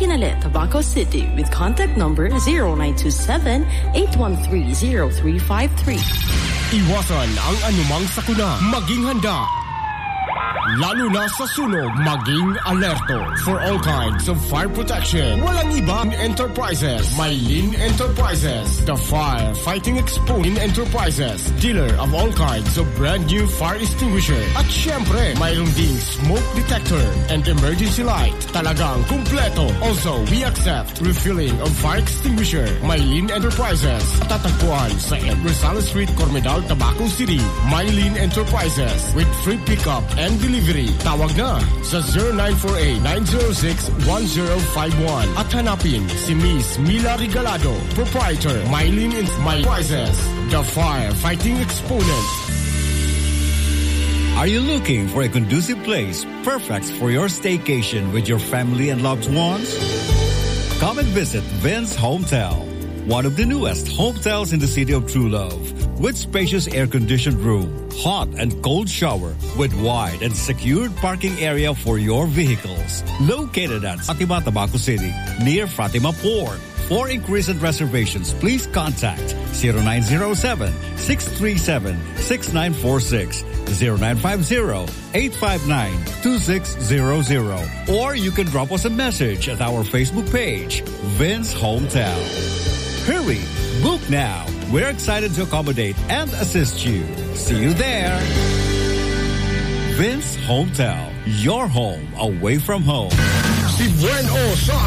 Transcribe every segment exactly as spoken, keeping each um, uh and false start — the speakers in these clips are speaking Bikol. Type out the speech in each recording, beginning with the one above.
Kinale, Tabaco City, with contact number zero nine two seven, eight one three, zero three five three. Iwasan ang anumang sakuna. Maging handa. Lalo na sa sunog, maging alerto. For all kinds of fire protection, walang iba ang Enterprises. Maylin Enterprises, the fire fighting exponent Enterprises, dealer of all kinds of brand new fire extinguisher. At syempre, mayroon ding smoke detector and emergency light. Talagang kumpleto. Also, we accept refilling of fire extinguisher. Maylin Enterprises. Tatagpuan sa Rosales Street, Cormedal, Tabaco City. Maylin Enterprises with free pickup and delivery. Tawag na sa zero nine four eight, nine zero six, one zero five one at hanapin si Miss Mila Regalado, proprietor, Maylin Enterprises, the firefighting exponent. Are you looking for a conducive place perfect for your staycation with your family and loved ones? Come and visit Vince Hotel, one of the newest hotels in the city of True Love, with spacious air-conditioned room, hot and cold shower, with wide and secured parking area for your vehicles. Located at Fatima, Tabaco City, near Fatima Port. For inquiries and reservations, please contact zero nine zero seven, six three seven, six nine four six, zero nine five zero, eight five nine, two six zero zero, or you can drop us a message at our Facebook page, Vince Hotel. Hurry! Book now! We're excited to accommodate and assist you. See you there! Vince Hotel, your home away from home. Si Buen O sa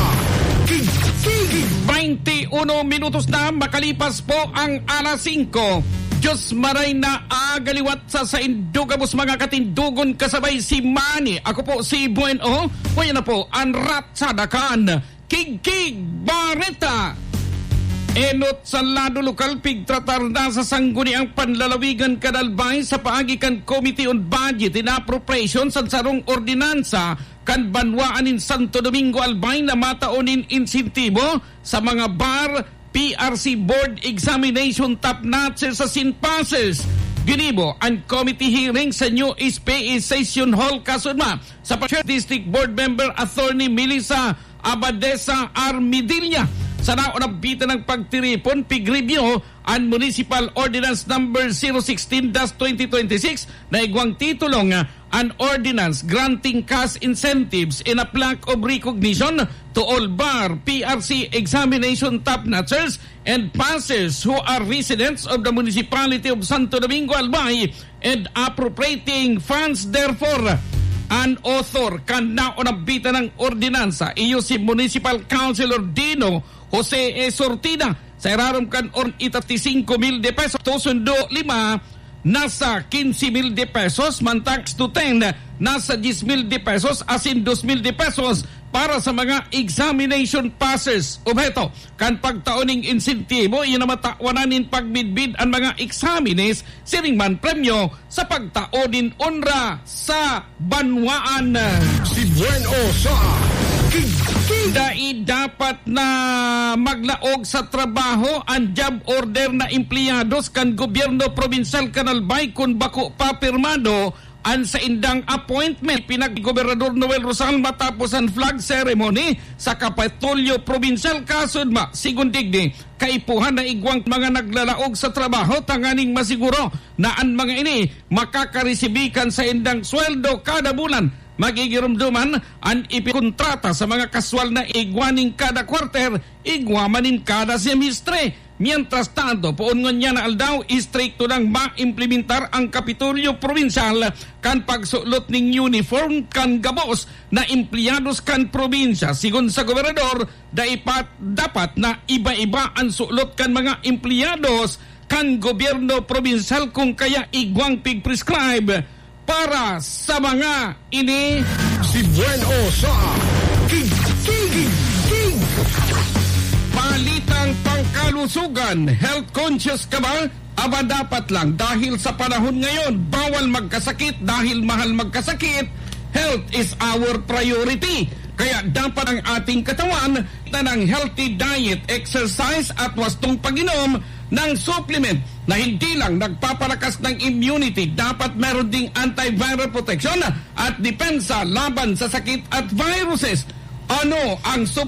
Kig-, Kig-, Bainti uno minutos na makalipas po ang alas singko. Diyos maray na agaliwat sa saindo gabos, mga katindogon, kasabay si Manny. Ako po si Buen O. Kaya na po, ang Ratsada kan Kigkig Bareta. Enot sa lado lokal, pigtratar na sa Sangguniang Panlalawigan kan Albay sa paagi kan Committee on Budget and Appropriations an sarong ordinansa kan banwaan nin Santo Domingo Albay na matao nin insentibo sa mga bar, P R C board examination top notchers asin passers. Ginibo an committee hearing sa new S P A Session Hall, Casudma, sa pa-, District Board Member Attorney Melissa Abadesa Armidilla. Sa naunabita ng pagtiripon, pig-review an Municipal Ordinance Number zero sixteen dash twenty twenty-six na igwang titulong, ah, an ordinance granting cash incentives in a plaque of recognition to all bar, P R C examination top notchers and passers who are residents of the Municipality of Santo Domingo Albay and appropriating funds therefore. An author kan naunabita ng ordinansa, iyo si Municipal Councilor Dino Jose E. Sortida, sa irarom kan or-, itati singko mil de pesos, to sundo lima, nasa quince mil de pesos, mantang to ten, nasa diez mil de pesos, asin dos mil de pesos para sa mga examination passes. Obheto kan pagtao ning insentibo, iyo na matawan nin pagmidbid an mga eksaminis, siring man premyo sa pagtao nin onra sa banwaan. Si Buen O sa Kig-, Kig-, Dai dapat na maglaog sa trabaho an job order na empleyados kan gobyerno probinsyal kan Albay kun bako pa pirmado an saindang appointment. Pinag-, Gobernador Noel Rosal matapos an flag ceremony sa Kapitolyo Probinsyal, Kasudma. Sigon digdi, kaipuhan na igwang mga naglalaog sa trabaho tanganing masiguro na an mga ini makakaresibi kan saindang sweldo kada bulan. Magigiromdoman an ipikontrata sa mga kaswal na igwa nin kada kwarter, igwa man nin kada semestre. Mientras tanto, poon ngunyan na aldaw, istrikto nang maimplementar ang Kapitolyo Probinsyal kan pagsulot nin uniform kan gabos na empleyados kan probinsya. Sigon sa gobernador, dai pa dapat na iba-iba an sulot kan mga empleyados kan gobyerno probinsyal, kung kaya igwang pig-prescribe para sa mga ini. Si Buen O sa Kig-, Kig-, Kig-, Balitang pangkalusugan, health conscious ka ba? Aba, dapat lang, dahil sa panahon ngayon, bawal magkasakit dahil mahal magkasakit. Health is our priority. Kaya dapat ang ating katawan na ng healthy diet, exercise at wastong pag-inom ng supplement na hindi lang nagpapalakas ng immunity, dapat meron ding antiviral protection at depensa laban sa sakit at viruses. Ano ang supplement?